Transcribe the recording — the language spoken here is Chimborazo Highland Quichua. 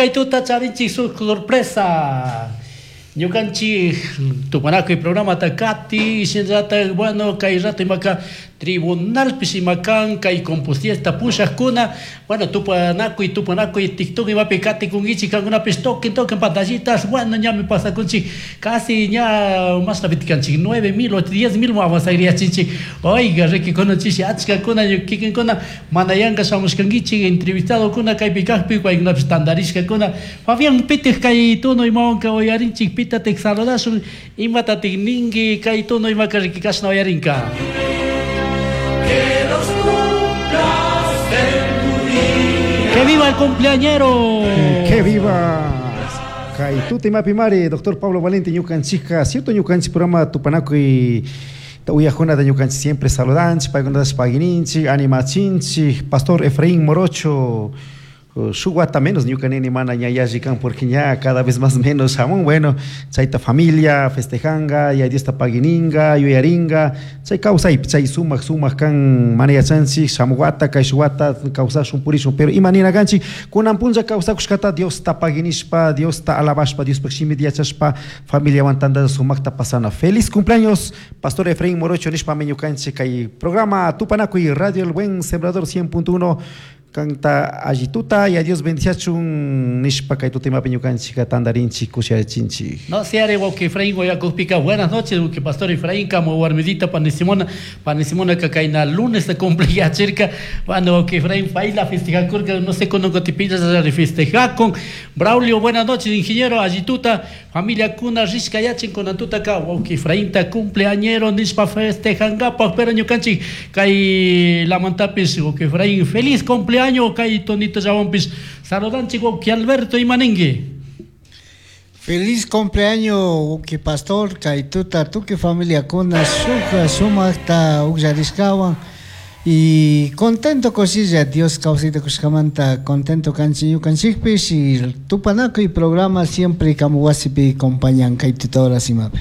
Kay tuta charinchik shuk sorpresa. Ñukanchik tupanakuy programata kati shinallatak, bueno, kay rato imaka tribunalpish ima kan kay compusiesta pushakuna. Bueno, tupanakuy, tupanakuy TikTok imapi katikunkichik kankunapish, toquen, toquen pantallitas. Bueno, ñami pasakunchik casi ña mashna kanchik, 9000 o 10,000 avanzagriachinchik. Oiga, riki, kunanchish achkakuna kikinkuna mana yanka shamushkankichik. Entrevistadokuna kaypi kaqpi, paykunapish tantarishkakuna. Fabián, pitik kay tono imawanka uyarinchik? Pitatik saludashun? Imatatik ninki? Kay tono imaka riki kashna uyarinka. Que los cumplas en tu día. ¡Que viva el cumpleañero! ¡Que viva! Kay tuta imapimari, doctor Pablo Valente, ñukanchikka, cierto, ñukanchik programa tupanakuy uyajunata ñukanchik siempre saludanchik, paykunatash pagininchik, animachinchik. Pastor Efraín Morocho, shuk wata menos ñuka nini mana ña yalli kan, porque ña cada vez más menos shamun. Bueno, chayta familia festejanga, ya Diosta pagininga, yuyaringa chay kawsaypi, chay sumak sumak kan. Mana yachanchik shamuq wata, kayshuk wata kawsashun, purishun, pero ima nina kanchik, kunan punlla kawsakushkata Diosta paginishpa, Diosta alabashpa, Diospaq shimita yachashpa, familiawan tantalla sumakta pasana. Feliz cumpleaños, pastor Efraín Morocho, nishpami ñukanchik kay programa Tupanakuy, Radio El Buen Sembrador 100.1, kanta allituta y a Dios bendiciachun nishpa kay tutimapi ñukanchik tantarinchik, kushiyachinchik. No, si are wawki Efraín Guayacujpica, buenas noches, wawki pastor Efraín, como warmidita pani Simona, pani Simona kayna lunes se cumpliyachirka. Bueno, wawki Efraín, paila festejakurka, no sé cuándo cotipilla festejakun. Braulio, buenas noches, ingeniero, allituta, familia kuna rishka yachin kunantutaka, wawki Efraínta cumpleañero nishpa festejankapaj, pero ñukanchik kay lamantapis, wawki Efraín, feliz cumpleaños, kay tonito llawanpis saludanchik. Wawki Alberto, imaninki? Feliz cumpleaños, wawki pastor, kay tuta tukuy familiakuna shuk sumakta ukllarishkawan y contento kushilla Dios kawsayta kushkamanta contento kanchik ñukanchikpish y tupanakuy programa siempre kamu wasipi acompañan kay tuta horas imapi.